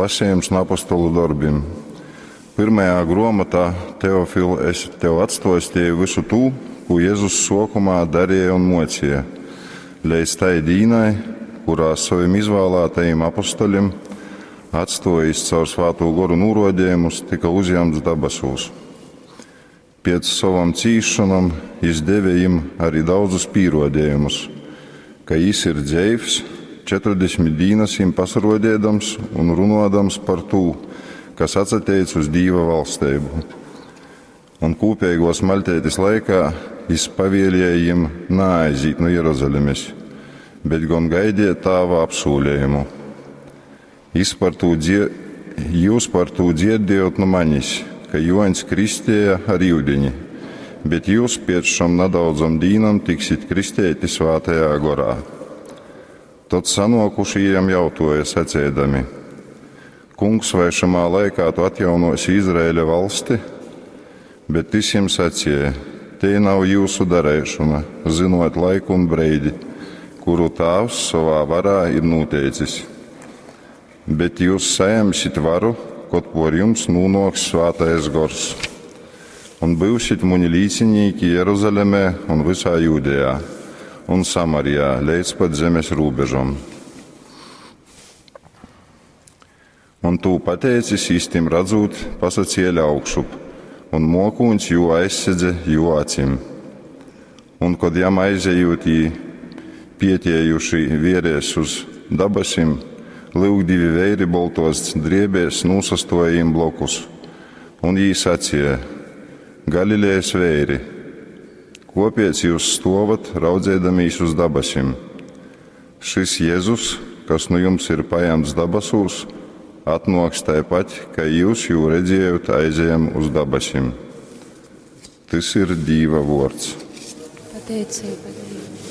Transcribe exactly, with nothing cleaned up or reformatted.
Lasejums nu apostolu dorbim. Pyrmajā gruomotā, Teofil, es tev atstuostieju vysu tū, kū Jezus suokumā darēja un muocīja, leidz tai dīnai, kurā sovim izvālātajim apostoļim, atstuojis caur Svātū Goru nūruodejumus, tyka uzjamts dabasūs. Piec sovom cīsšonom jis deve jim ari daudzus pīruodejumus, ka jis ir dzeivs, četrdesmit dīnas jim pasaruodiedams un runuodams par tū, kas atsateic uz Dīva valsteibu. Un kūpeiguos maļteitis laikā jis pavielēja jim naaizīt nu Jeruzalemes, bet gon gaidiet Tāva apsūlējumu. Jis par tū dzie jūs par tū dzierdējot nu manis, ka Juoņs kristēja ar iudiņi, bet jūs piec šom nadaudzom dīnom tiksit kristēti Svātajā Gorā. Tod sanuokušī jam jautuoja, saceidami: Kungs, vai šamā laikā tu atjaunosi Izraēļa valsti? Bet tys jim sacīja: Te nav jūsu dareišona, zinot laiku un breidi, kuru Tāvs sovā varā ir noteicis. Bet jūs sajemsit varu, kod por jums nūnoks Svātais Gors. Un būsit muni līcinīki Jeruzalemē un visā Jūdejā un Samarijā, līdz pat zemes robežom. Un tū pateicis, īstim radzūt, pasacēla augšup, un mokūņs jū aizsedze jū acim. Un, kod jam aizejūt, jī pietiejuši vierēs uz dabasim, lyuk divi veiri boltos driebēs nūsastoja jim blokus. Un jī sacīja: Galilejas veiri, kopiec jūs stovat, raudzēdamīs uz dabasim? Šis Jēzus, kas nu jums ir pajemts dabasūs, atnoks taipat, ka jūs jū redzējot aizejam uz dabasim. Tys ir Dīva vuords. Pateicība Dievam.